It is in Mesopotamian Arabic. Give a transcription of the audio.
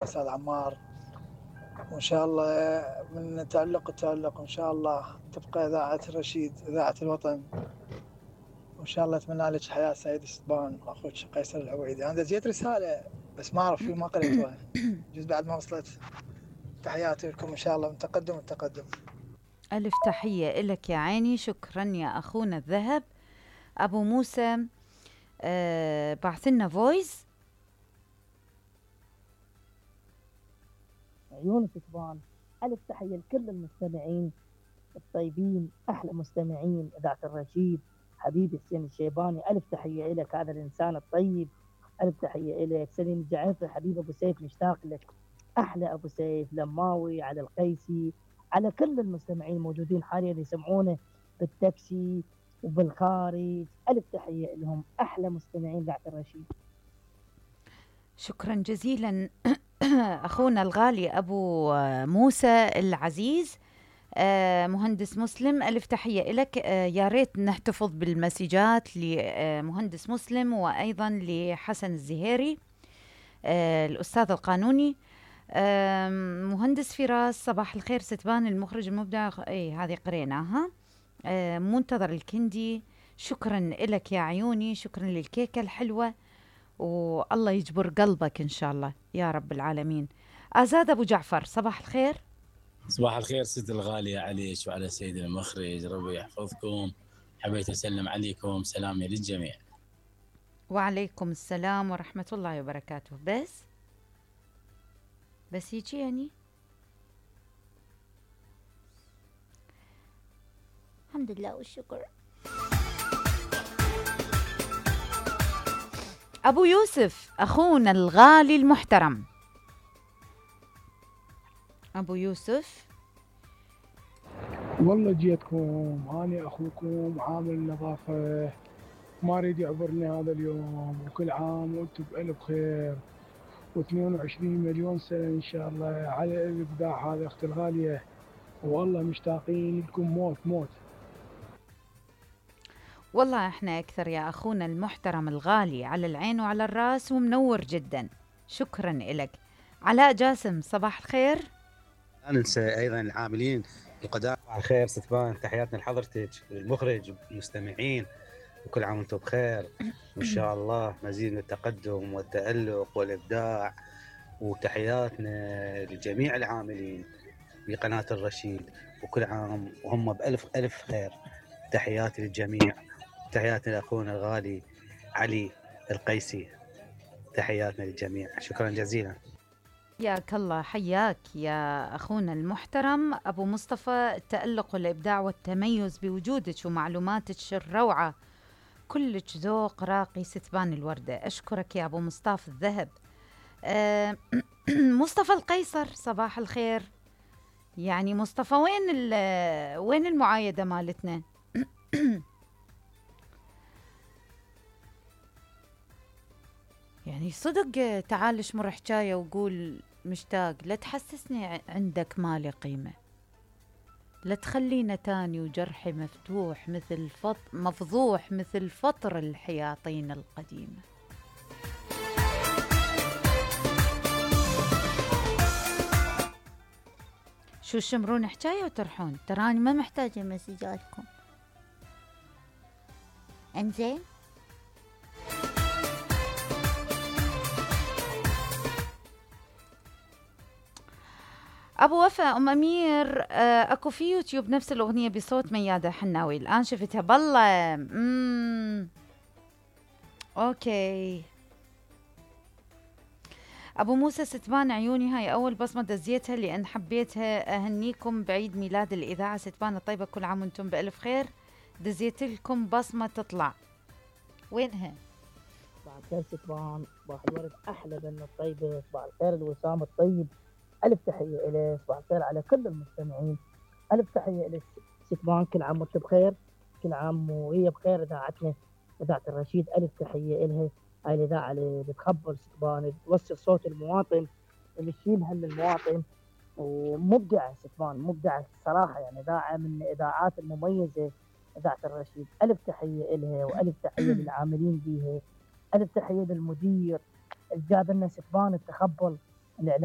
أستاذ عمار، وإن شاء الله من تألق وتألق، وإن شاء الله تبقى إذاعة الرشيد إذاعة الوطن، وإن شاء الله أتمنى لك حياة سعيدة ستبان وأخوك قيصر العويدي. أنا دزيت رسالة بس ما أعرف ما قريتوها، جزء بعد ما وصلت. تحياتي لكم إن شاء الله من تقدم التقدم. ألف تحية إلك يا عيني، شكرا يا أخونا الذهب. أبو موسى بعثلنا فويس. عيون ستبان، ألف تحية لكل المستمعين الطيبين، أحلى مستمعين إذاعة الرشيد. حبيبي حسين الشيباني، ألف تحية إلك، هذا الإنسان الطيب. ألف تحية إلك. سليم الجعفري، حبيب أبو سيف، مشتاق لك. أحلى أبو سيف، لماوي، على القيسي، على كل المستمعين الموجودين حاليا يسمعونه بالتاكسي وبالخارج، ألف تحية لهم، أحلى مستمعين إذاعة الرشيد. شكرا جزيلا أخونا الغالي أبو موسى العزيز. مهندس مسلم، ألف تحية لك. يا ريت نحتفظ بالمسجات لمهندس مسلم وأيضا لحسن الزهيري الأستاذ القانوني. مهندس فراس، صباح الخير ستبان المخرج المبدع، اي هذه قريناها. منتظر الكندي، شكرا لك يا عيوني، شكرا للكيكة الحلوة، والله يجبر قلبك إن شاء الله يا رب العالمين. آزاد أبو جعفر، صباح الخير. صباح الخير ست الغالية عليك وعلى سيد المخرج، ربي يحفظكم. حبيت أسلم عليكم، سلامي للجميع. وعليكم السلام ورحمة الله وبركاته. بس هيك يعني الحمد لله والشكر. أبو يوسف أخونا الغالي المحترم، أبو يوسف. والله جيتكم، أنا أخوكم عامل النظافة، ما أريد يعبرني هذا اليوم، وكل عام وأنتم بألف خير، و22 مليون سنة إن شاء الله على الإبداع هذا أختي الغالية، والله مشتاقين لكم موت موت. والله احنا أكثر يا أخونا المحترم الغالي، على العين وعلى الراس، ومنور جدا، شكرا لك. علاء جاسم، صباح الخير. لا ننسى أيضا العاملين القدامى. صباح الخير ستبان، تحياتنا لحضرتك، المخرج والمستمعين، وكل عام وانتم بخير، وإن شاء الله مزيد من التقدم والتألق والإبداع. وتحياتنا لجميع العاملين بقناة الرشيد، وكل عام وهم بألف ألف خير. تحياتي للجميع، تحياتنا لأخونا الغالي علي القيسي، تحياتنا للجميع، شكرا جزيلا. حياك الله، حياك يا أخونا المحترم أبو مصطفى. التألق والإبداع والتميز بوجودك ومعلوماتك الروعة، كلك ذوق راقي ستبان الوردة. أشكرك يا أبو مصطفى الذهب. مصطفى القيصر، صباح الخير. يعني مصطفى، وين المعايدة مالتنا؟ يعني صدق تعال اشمر حكاية وقول مشتاق، لا تحسسني عندك مالي قيمة، لا تخلينا تاني وجرحي مفتوح مثل مفضوح مثل فطر الحياطين القديمة. شو شمرون حكاية وترحون؟ تراني ما محتاجة مسجاتكم. انزين، أبو وفاء أم أمير، أكو في يوتيوب نفس الأغنية بصوت ميادة حناوي، الآن شفتها بالله. أوكي. أبو موسى ستبان عيوني، هاي أول بصمة دزيتها لأن حبيتها. أهنيكم بعيد ميلاد الإذاعة ستبان الطيبة، كل عام وانتم بألف خير. دزيت لكم بصمة تطلع، وينها؟ صباح الخير ستبان، صباح الورد، أحلى بنا الطيبة، صباح الخير الوسام الطيب، ألف تحية إليك. صباح الخير على كل المستمعين، ألف تحية إليك ستبان، كل عام وانت بخير، كل عام وهي بخير. إذاعتنا إذاعة الرشيد، ألف تحية إلها. هاي الإذاعة اللي بتخبر ستبان، اللي توصل صوت المواطن، اللي تشيل هم المواطن، ومبدعة ستبان، مبدعة الصراحة، يعني إذاعة من الإذاعات المميزة إذاعة الرشيد. ألف تحية إلها، وألف تحية للعاملين بيها، ألف تحية للمدير اللي جاب لنا ستبان التخبل الإعلام